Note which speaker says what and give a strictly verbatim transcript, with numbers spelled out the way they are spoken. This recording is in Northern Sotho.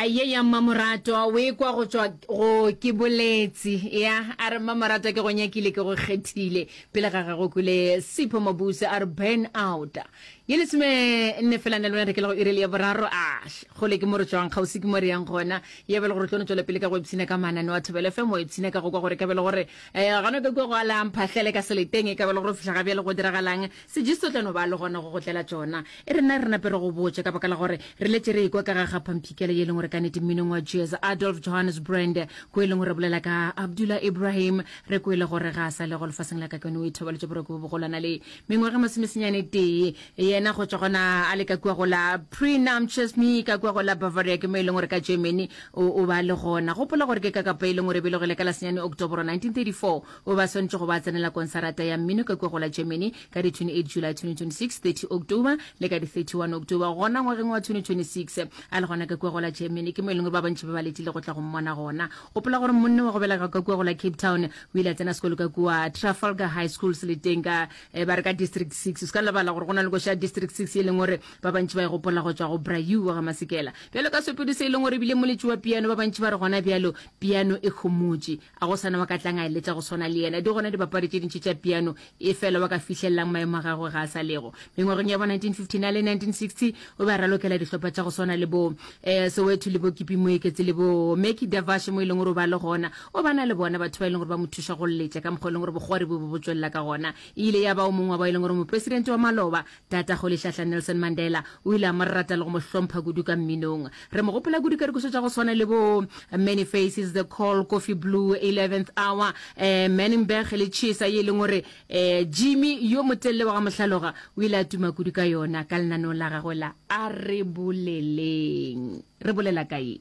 Speaker 1: Ye ya Mmamoratwa o e kwa go tšwa go Ke Boletse. Ya, a re Mmamoratwa ke go nyakile ke go kgethile. Pele ga gagwe kwele Sipho Mabuse a re Burn Out. Ye lesome nne fela na le wena re ke le go iri ya boraro. Ah, kgole ke mo re tšwang, kgauswi ke mo re yang gona. Ya bele gore tlo no tšwela pele ka go ipshina ka mananeo a Thobela F M, wa ipshina ka go kwa gore ka bele gore eh gona ka kua go ala mphahlele ka seleteng e ka bele gore fihla ga bjale go diragalang. Sejisto tla no ba le gona go go tlela tšona. E re nna re nape re go botše ka baka la gore re letše re ekwa ka ga ga Phamphikela ye e leng gore ka nnete mminong wa jazz Adolf Johannes Brand ko e leng gore bolela ka Abdullah Ibrahim re kwele gore ga a sa le go lefaseng la ka keno o ithobaletše boroko bo bogolwana le mengwaga masomesenyane tee yena go tšwa gona a le ka kua go la Prenamchesme ka kua go la Bavaria ke mo e leng gore ka Germany o o ba le gona. Gopola gore ke ka kapa e leng gore e belegile ka la senyane Oktoboro nineteen thirty-four o ba swanetše go ba tsenela konsarata ya mmino ka kua go la Germany ka di twenty-eight July twenty twenty-six, thirty October le ka di thirty-one October gona ngwageng wa twenty twenty-six a le gona ka kua go la Germany ke mo e leng gore ba bantši ba ba letile go tla go mmona gona. Gopola gore monna wa go belega ka kua go la Cape Town o ile a tsena sekolo ka kua Trafalgar High School seleteng ka eh, ba re ka District six. O se ka lebala gore go na le koša ya District six e leng gore ba bantši ba e gopola go tšwa go Brayu wa ga Masekela. Bjalo ka seopedi se e leng gore ebile moletši wa piano ba bantši ba re gona bjalo piano e homotše a go sana wa ka tlang a e letša go swana le yena. Di gona dibapadi tše dintši tša piano e fela wa ka fihlelelang maemo a gagwe ga a sa lego. Mengwageng ya bo nineteen fifty-nine le nineteen sixty o be a ralokela dihlopha tša go swana le bo eh, Soweto le bo Kipi Moeketsi le bo Meki Davash mo e leng gore o ba le gona. O ba na le bona batho ba e leng gore ba mo thuša go letša ka mokgwa e leng gore bokgwari bo bo bo tšwelela ka gona. E ile ya ba o mongwe wa ba e leng gore mopresidente wa maloba Tata Rolihlahla Nelson Mandela o ile a mo rata le go mo hlompha kudu ka mminong. Re mo gopola kudu ka dikošo tša go swana le bo Many Faces, The Call, Coffee Blue, Eleventh Hour, eh, Manenberg le Chesa ye e leng gore eh, Jimmy yo motelele wa ga Mohlaloga o ile a tuma kudu ka yona ka lenaneong la gagwe la A Re Boleleng. Re bolela ka ye.